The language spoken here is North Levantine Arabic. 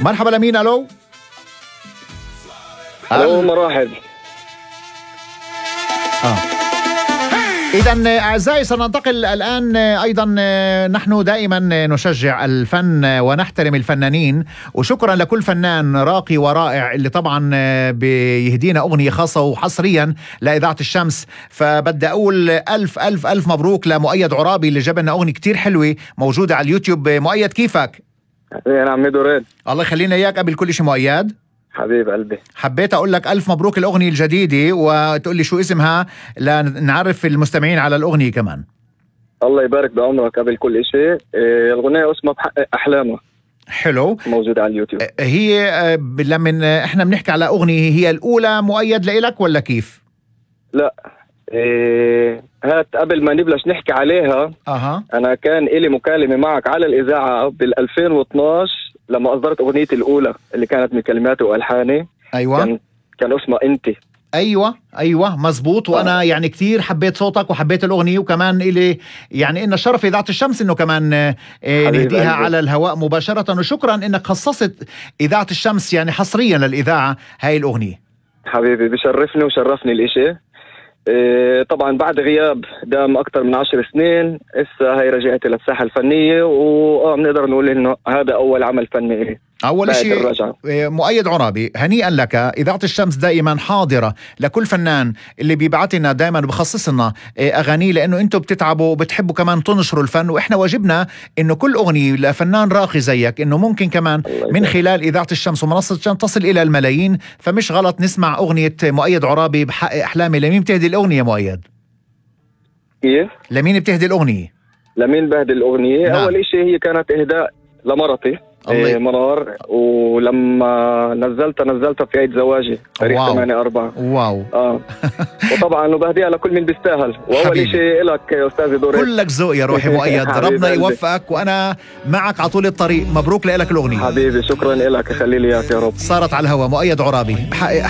مرحبا لمين؟ ألو مراحب. إذن أعزائي سننتقل الآن. أيضا نحن دائما نشجع الفن ونحترم الفنانين، وشكرا لكل فنان راقي ورائع اللي طبعا بيهدينا أغنية خاصة وحصريا لإذاعة الشمس. فبدي أقول ألف ألف ألف مبروك لمؤيد عرابي اللي جاب لنا أغنية كتير حلوة موجودة على اليوتيوب. مؤيد كيفك؟ أنا عمي دورين. الله يخلينا إياك. قبل كل شيء مؤيد حبيب قلبي، حبيت أقول لك ألف مبروك الأغنية الجديدة، وتقول لي شو اسمها لنعرف المستمعين على الأغنية كمان. الله يبارك بعمرك. قبل كل شيء الأغنية اسمها بحقق أحلامه. حلو، موجودة على اليوتيوب. هي لما احنا بنحكي على أغنية، هي الأولى مؤيد لإلك ولا كيف؟ لا، هات قبل ما نبلش نحكي عليها. أنا كان إلي مكالمة معك على الإذاعة بال2012 لما أصدرت أغنيتي الأولى اللي كانت من كلماتي وألحاني. أيوة، كان اسمها أنت. أيوة مزبوط. وأنا يعني كتير حبيت صوتك وحبيت الأغنية، وكمان إلي يعني إن الشرف إذاعة الشمس إنه كمان نهديها على الهواء مباشرة. وشكرا إنك خصصت إذاعة الشمس يعني حصريا للإذاعة هاي الأغنية. حبيبي بشرفني وشرفني الإشي. طبعا بعد غياب دام أكتر من 10 سنين هسه هاي رجعت للساحة الفنية، بنقدر نقول إنه هذا أول عمل فني. أول شيء مؤيد عرابي، هنيئا لك. إذاعة الشمس دائما حاضرة لكل فنان اللي بيبعتنا، دائما بخصص لنا أغاني، لأنه أنتم بتتعبوا وبتحبوا كمان تنشروا الفن، وإحنا واجبنا إنه كل أغنية لفنان راقي زيك إنه ممكن كمان من خلال إذاعة الشمس ومنصة الشمس تصل إلى الملايين. فمش غلط نسمع أغنية مؤيد عرابي بحقق أحلامي. لمين بتهدي الأغنية مؤيد؟ كيف؟ لمين بتهدي الأغنية؟ لمين بهدي الأغنية؟ نعم. أول شيء هي كانت إهداء لمرتي منار، ولما نزلتها في عيد زواجي تاريخ 8/4. واو. وطبعا وبهديها لكل من بيستاهل. واول شيء لك يا استاذي دوري، كلك ذوق يا روحي مؤيد. ربنا يوفقك، وانا معك على طول الطريق. مبروك لك الاغنيه حبيبي. شكرا لك، خلي لي اياك يا رب. صارت على الهوا. مؤيد عرابي بحقق